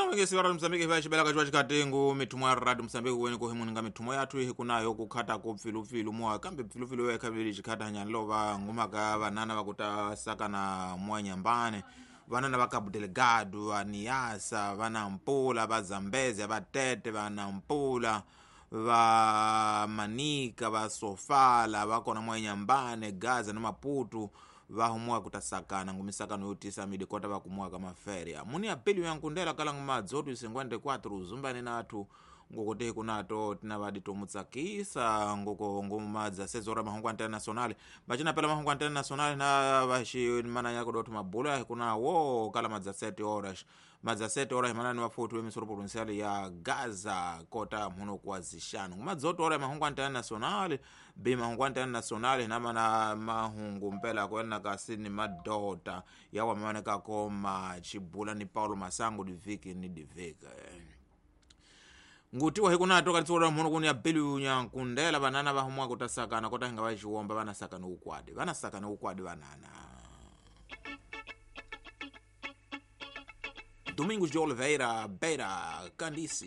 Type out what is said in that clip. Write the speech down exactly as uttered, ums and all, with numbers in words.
Vengesi va Radio Mozambique va xibelaka xi va xikatengu mithumo ya Radio Mozambique weni ku himuninga mithumo yathu hi kunayo ku khata ko pfilupfilu moya kambe pfilupfilu ya khavili xikhata hanyani lo va ngumaka vanana va ku ta sakana moya nyambane vanana va Cabo Delgado, va Niassa, va Nampula, va Zambezia, va Tete, va Nampula, va Manica, va Sofala, va kona moya nyambane, Gaza na Maputo va humuwa ku ta sakana ngumisakano yo tisa midi kota va kumuwa ka maferia muni ya pili ya nkundela kala ngumadzotu cinquenta e quatro zumbani nathu ngokote kunato tina vadi tomutsakisa ngoko ngumadza sezora mahungu internacional bacina pela mahungu internacional na vaxi mana ya kudotu mabula kuna wo kala madza sete horas madza sete horas manani wafuti wemisoro provincial ya Gaza kota muno kwa zishanu ngumadzoto hora mahungu internacional bi mahungu internacional na mana mahungu mpela kwena kasini madota yawa mamane kakoma chibula ni Paulo Masango diviki ni divika ngutiwa hikunato kanitsura mhono kuni ya belu nyankundela vanana va humwa kutasakana kota hinga va xiwomba vana sakana ukwadi vana sakana ukwadi vanana Domingos de Oliveira Beira Candice.